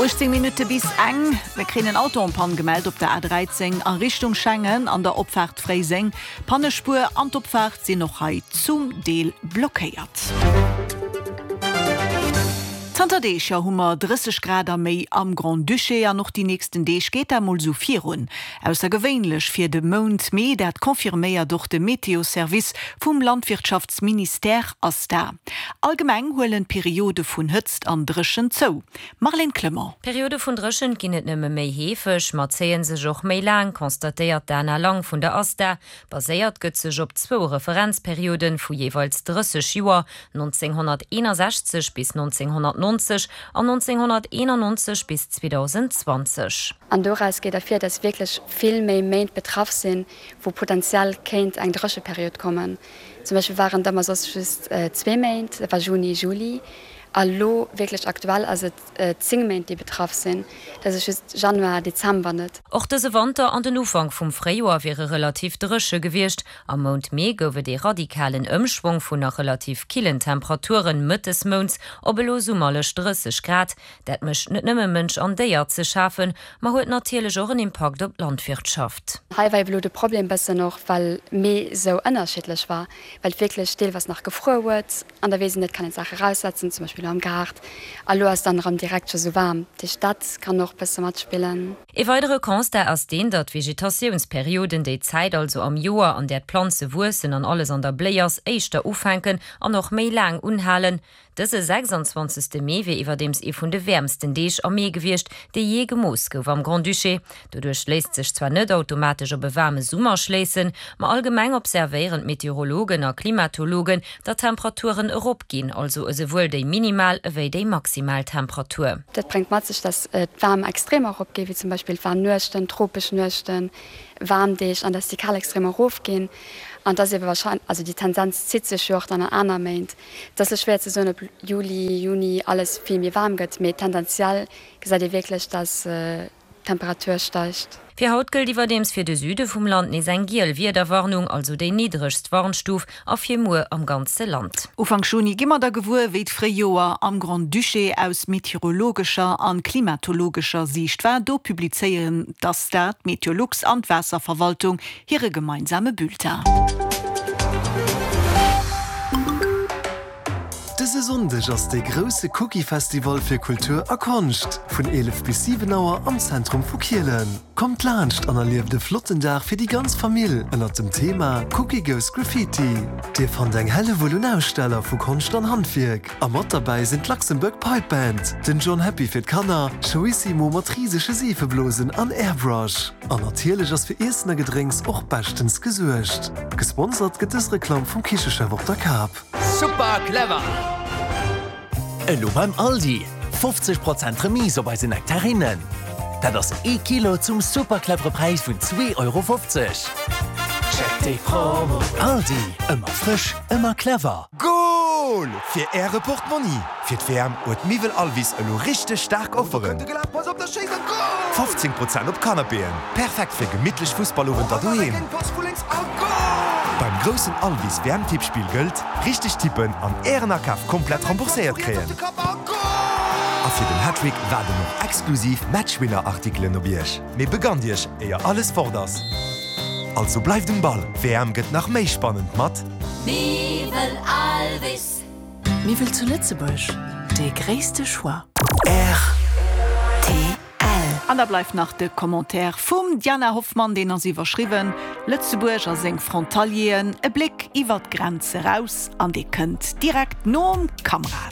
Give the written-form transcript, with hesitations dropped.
18 Minutte bis eng. Mir kréien en Auto en panne gemellt op der A13 a Richtung Schengen an der Opfaart Fréiseng. D'Pannespuer an d'Opfaart sinn och hei zum Deel blockéiert. Zanter Deeg jo hu mer 30 Grad a méi am Grand-Duché an och déi nächsten Deeg geet dat mol sou virun. Aussergewéinlech fir de Mount Mee, dat confirméiert och de Meteo-Service vum Landwirtschaftsministère ASTA. Allgemeng huelen d'Periode vun Hëtzt an Dréchent zou. Marlène Clement. D'Periode vun Dréchent ginn net nëmme méi heefeg, ma zéie sech och méi laang, constatéiert d'Dana Lang vun der ASTA. Baséiert gëtt sech op zwou Referenzperioden vu jeeweils 30 Joer, 1961 bis 1990 an 1991 bis 2020. An doraus geet ervir, dass wierklech vill méi Méint betraff sinn, wou potenziell kéint eng Drécheperiod kommen. Zum Beispill waren et ëmmer soss just zwee Méint, dat war Juni, Juli, a lo wierklech aktuell ass et 10 Méint, déi betraff sinn. Dat ass just Januar, Dezember net. Och dëse Wanter an den Ufank vum Fréijoer wiere relativ dréche gewiescht. Am Mount Mee gouf et ee radikalen Ëmschwong vun nach relativ killen Temperaturen mëttes Mounts op elo summerlech 30 Grad. Dat mécht net nëmme Mënsch an Déier ze schafen, ma huet natierlech och en Impakt op d'Landwirtschaft. Hei war ebe lo de Problem bëssen och, well Mee sou ënnerschiddlech war, well et wierklech deelweis nach gefruer huet an da weess een net, kann een d'Saache raussetzen, zum Beispill elo am Gaart, a lo ass dann erëm direkt scho sou waarm. Dat heescht, dat kann och bësse matspillen. Ee weidere Constat ass deen, datt d'Vegetatiounsperioden, déi Zäit also am Joer, an där d'Planze wuessen an alles an der Bléi ass, éischter ufänken an och méi laang unhalen. Dëse 26. Mee wier iwwerdeems ee vun de wäermsten Deeg am Mee gewiescht, dee jee gemooss gouf am Grand-Duché. Doduerch léisst sech zwar net automatesch op e waarme Summer schléissen, ma allgemeng observéieren d'Meteorologen a Klimatologen, datt d'Temperaturen eropginn, also esouwuel déi minimal ewéi déi maximal Temperatur. Dat bréngt mat sech, datt d'waarm Extremer eropginn, wéi zum Beispill d'waarm Nuechten, tropesch Nuechten, waarm Deeg, an datt déi kal Extremer erofginn. An et ass ebe warscheinlech, also déi Tendenz zitt sech jo och dann an aner Méint. Et ass lo schwéier ze soen, ob Juli, Juni alles vill méi waarm gëtt, mee tendenziell gesäit ee wierklech, dass d'Temperatur steigt. Fir haut gëllt iwwerdeems fir de Süde vum Land nees eng giel Wiederwarnung, also déi niddregst Warnstuf, a fir muer am ganze Land. Ufank Juni gi mer da gewuer, wéi d'Fréijoer am Grand-Duché aus meteorologescher an klimatologescher Siicht war. Do publizéieren d'ASTA, d'Meteolux an d'Waasserverwaltung hire gemeinsame Bulletin. Dëse Sonndeg ass dee grousse Cookie Festival fir Kultur a Konscht vun 11 bis 7 Auer am Zentrum vu Kielen. Kommt laanscht an erlieft e flotten Dag fir déi ganz Famill ënnert dem Thema Cookie goes Graffiti. Dir fannt eng Hellewull un Aussteller vu Konscht an Handwierk a mat derbäi sinn d'Luxembourg Pipe Band, den John Happy fir d'Kanner, Showissimo mat risege Seefeblosen an Airbrush. An natierlech ass fir Iessen a Gedrénks och beschtens gesuergt. Gesponsert gëtt dës Reklamm vum Kichechef op der Kap. Super clever! Elo beim Aldi, 50 Prozent Remise op eise Nektarinnen. Dat ass ee Kilo zum super clevere Präis vun 2,50 Euro. Check déi Promo! Aldi, ëmmer frësch, ëmmer clever! Goal fir äre Portmonni! Fir d'WM huet Miwwel Alvis elo richteg staark Offeren! 15 Prozent op Canapéen, perfekt fir gemittlech Fussballowenter doheem! Beim groussen Alvis WM Tippspill gëllt, Richteg tippen an ären Akaf komplett rembourséiert kréien! A fir den Hattrick waarden och exklusiv Matchwinner Artikelen op iech! Mee begannt iech, éier alles fort ass! Also bleift um Ball, d'WM gëtt nach méi spannend mat. Miwwel Alvis. Miwwel zu Lëtzebuerg, dee gréisste Choix. Rtl. An da bleift nach de Commentaire vum Diana Hoffmann, deen ass iwwerschriwwen, Lëtzebuerg a seng Frontalieren, e Bléck iwwer d'Grenz eraus an dee kënnt direkt nom Kamrad.